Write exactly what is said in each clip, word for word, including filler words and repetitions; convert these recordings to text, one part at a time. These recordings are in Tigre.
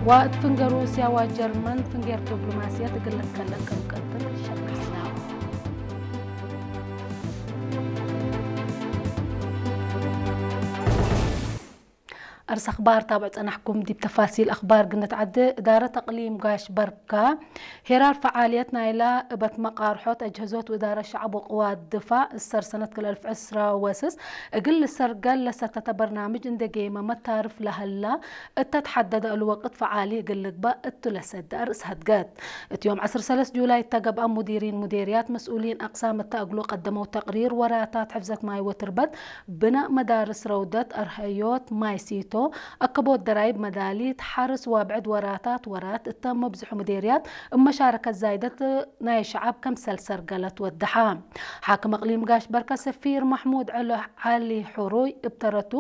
ወእት ፍንጌ ሩስያ ወጀርመን ፍንጌር ዲብሎማስየት እግል ልትከለቅ ክም ቀድር ሸርሐ። አርስ አኽባር ታብዕ ጸናሕኩም። ዲብ ተፋሲል አኽባር ግንትዐዴ። እዳረት አቅሊም ጋሽ በርካ ሄራር ፈዓልየት ናይላ እበት መቃርሖት አጅህዞት ወእዳረት ሸዐብ ወቅዋት ድፋዕ እሰር ሰነት ክልኤ አልፍ ዕስራ ወስስ እግል ልሰርገል ለሰተተ በርናምጅ እንዴ ጌመመ ታርፍ ለሀላ እተ ተሐደደ እሉ ወቅት ፈዓሊ እግል ልግበእ እቱ ለሰደ አርእስ ሀድገት። እት ዮም ዐስር ሰለስ ጁላይ እተ ገብአ ሙዲሪን ሙዴርያት መስኡሊን አቅሳም እተ እግሉ ቀደመው ተቅሪር ወራታት ሕፍዘት ማይ ወትርበት ብናእ መዳርስ ረውደት፣ አርሀዮት፣ ማይ ሲቶ፣ አከቦት ደራይብ፣ መዳሊት፣ ሐርስ ወብዕድ ወራታት ወራት እተ መብዝሑ ምዴርያት እብ መሻረከት ዛይደት ናይ ሸዐብ ከምሰል ሰርገለት ወደሐ። ሓክም አቅሊም ጋሽ በርከ ሰፊር መሕሙድ ዐሎ ዐሊ ሕሩይ እብ ተረቱ፣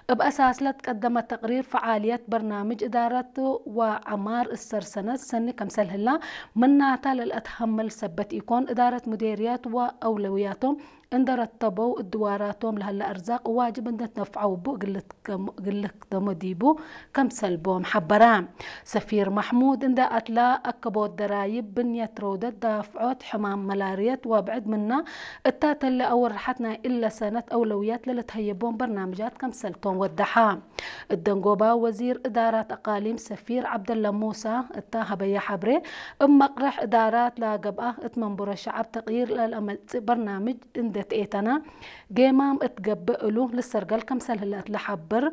እብ አሳስ ለትቀደመ ተቅሪር ፈዓልየት በርናምጅ እዳረት ወዐማር እሰር ሰነት ሰኒ ከምሰል ህላ፣ ምናተ ለልአትሀምል ሰበት ኢኮን፣ እዳረት ምዴርያት ወአውለውያቶም እንደ ረተበው እድዋራቶም ለሀለ አርዛቅ ዋጅብ እንደ ትነፍዐው እቡ እግል ልትከደሞ ዲቡ ከምሰል ቦም ሐበረ። ሰፊር መሕሙድ እንደ አትላ አከቦት ደራይብ፣ ብንየት ረውደት፣ ዳፍዖት፣ ሕማም መላርየት ወብዕድ ምና እታ ተለ አወርሐት ናይ እለ ሰነት አውለውያት ለልትሀየቦም በርናምጃት ከምሰልቶም ወደሐ። እደንጎባ ወዚር እዳራት አቃሊም ሰፊር ዐብደለ ሙሳ እታ ሀበየ ሐብሬ፣ እብ መቅረሕ እዳራት ለገብአ እት መንቡረ ሸዐብ ተቅይር ለለአመጽእ በርናምጅ እንዴ ተኤተና፣ ጌማም እት ገብእ እሉ ልሰርገል ከምሰል ህለ እት ለሐብር፣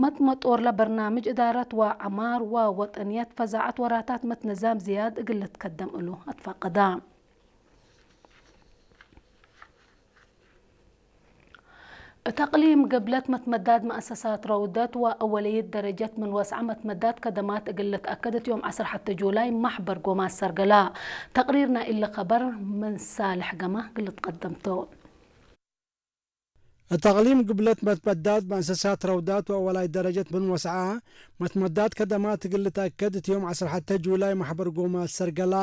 መጥመጦርለ በርናምጅ እዳረት ወዐማር ወወጠንየት ፈዛዐት ወራታት መትነዛም ዝያድ እግል ልትከደም እሉ አትፋቀዳ። እት አቅሊም ግብለት መትመዳድ መአሰሳት ረውደት ወአወለይት ደረጀት ምን ወስዐ መትመዳድ ከደማት እግል ልትአከድ እት ዮም ዐስር ሐቴ ጁላይ ማሕበር ጎማት ሰርገላ። ተቅሪር ናይ እሊ ከበር ምን ሳልሕ ገማ እግል ልትቀደም ቱ። እት አቅሊም ግብለት መትመዳድ መአሰሳት ረውዳት ወአወላይ ደረጀት ምን ወስዐ መትመዳድ ከደማት እግል ልትአከድ እት ዮም ዐስር ሐቴ ጁላይ ማሕበር ጎማት ሰርገላ።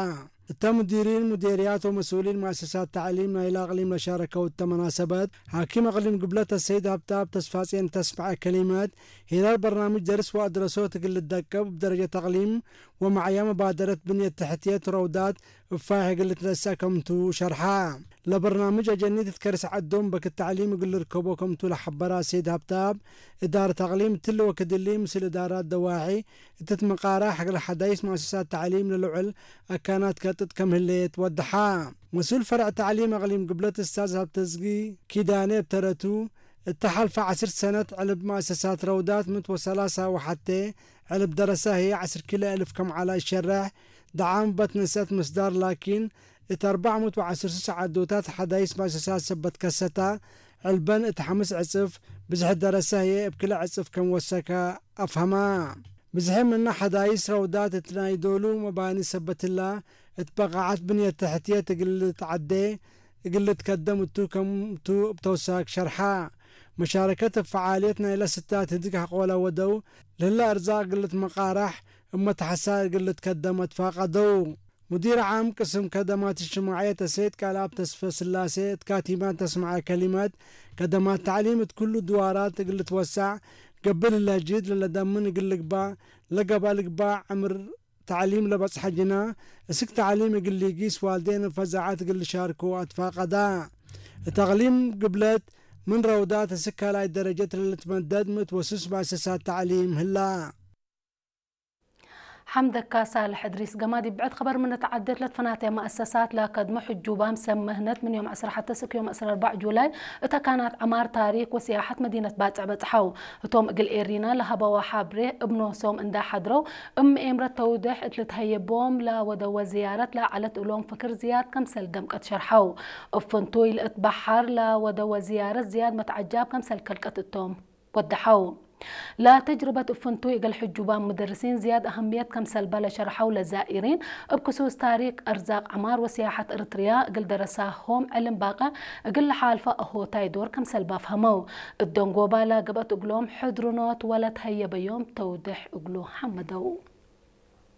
እተ ሙዲሪን ሙዴርያት ወመስኡሊን መአሰሳት ተዕሊም ናይለ አቅሊም ለሻረከው እተ መናሰበት፣ ሓኪም አቅሊም ግብለት አሰይድ ሀብታብ ተስፋጼን እተ አስመዐ ከሊመት፣ ሄራር በርናምጅ ደርስ ወአድረሶት እግል ልደቀብ እብ ደረጀት አቅሊም ወመዐያ መባደረት ብንየት ተሕትየት ረውዳት እብ ፋይሕ እግል ልትነሰእ ከምቱ ሸርሐ። ለበርናምጅ አጀኒት እት ከርስ ዐዶም በክት ተዕሊም እግል ልርከቦ ከምቱ ለሐበረ አሰይድ ሀብታብ፣ እዳረት አቅሊም እትሊ ወክድ እሊ ምስል እዳራት ደዋሒ እት ትትመቃረሕ እግል ሐዳይስ መአሰሳት ተዕሊም ለልዑል አካናት ከጥጥ ከም ህሌት ወደሐ። መስኡል ፈርዕ ተዕሊም አቅሊም ግብለት እስታዝ ሀብተዝጊ ኪዳኔ እብ ተረቱ፣ እተ ሐልፈ ዐስር ሰነት ዕልብ መአሰሳት ረውዳት ምት ወሰላሳ ወሐቴ ዕልብ ደረሰ ህዬ ዐስር ኪሎ እልፍ ከም ዐለ እሸረሕ፣ ደዓም በትነሰት ምስዳር ላኪን፣ እት አርበዕ ምእት ወዐስር ሱስ ዐዶታት ሐዳይስ መአሰሳት ሰበት ከሰታ፣ ዕልበን እት ሐምስ ዕጽፍ፣ ብዝሒ ደረሰ ህዬ እብ ክልኤ ዕጽፍ ከም ወሰከ አፍሀማ። ብዝሒ ምነ ሐዳይስ ረውዳት እት ናይ ዶሉ መባኒ ሰበት ህላ፣ እት በቃዐት ብንየት ተሕትየት እግል ልትዐዴ እግል ልትከደም እቱ ከምቱ እብ ተውሳክ ሸርሐ። መሻረከት እብ ፈዓልየት ናይለ ስታት ህድግ ሐቆለ ወደው ለህለ አርዛቅ እግል ልትመቃራሕ እብ መትሐሳር እግል ልትከደም አትፋቀደው። ሙዲር ዓም ቅስም ከደማት እጅትማዕየት አሰይድ ቃልአብ ተስፈ ስላሴ እት ካቲማት ተስመዐ ከሊመት፣ ከደማት ተዕሊም እት ኩሉ ድዋራት እግል ልትወሰዕ፣ ገብእ ለህለ ጅህድ ለለደምን እግል ልግባእ፣ ለገብአ ልግባእ ዕምር ተዕሊም ለበጽሐ ጅና፣ እስክ ተዕሊም እግል ሊጊስ ዋልዴን እብ ፈዛዐት እግል ልሻርኮ አትፋቀዳ። እት አቅሊም ግብለት ምን ረውዳት እስክ ካልኣይ ደረጀት ለልትመደድ ምእት ወስስ መአሰሳት ተዕሊም ህላ። ሐምደካ ሳልሕ እድሪስ። ገማት ዲብ ብዕድ ኸበር ምን ተዓዴት ለትፈናተ መአሰሳት ለከድሞ ሕጁባም ሰብ ምህነት ምን ዮም ዐስር ሐቴ እስክ ዮም ዐስር አርበዕ ጁላይ እተ ካናት ዐማር ታሪክ ወስያሐት መዲነት ባጽዕ በጽሐው። ህቶም እግል ኤሪና ለሀበወ ሐብሬ እብ ኖሶም እንዳ ሐድረው እብ ምኤምረት ተውዴሕ እት ልትሀየቦም ለወደወ ዝያረት ለዐለት እሎም ፍክር ዝያድ ከምሰል ደምቀት ሸርሐው። እብ ፍንቱይ ለእት በሐር ለወደወ ዝያረት ዝያድ መትዐጃብ ከምሰል ከልቀት እቶም ወደሐው። ለተጅርበት እብ ፍንቱይ እግል ሕጁባም ምደርሲን ዝያድ አሀምየት ከምሰል በ ለሸርሐው ለዛኢሪን፣ እብ ክሱስ ታሪክ፣ አርዛቅ ዐማር ወስያሐት እርትርያ እግል ደረሳሆም ዕልም ባቀ እግል ለሓልፈ አሆታይ ዶር ከምሰል ባፍሀመው። እደንጎባ ለገብአት እግሎም ሕድርኖት ወለትሀየበዮም ተውዴሕ እግሉ ሐመደው።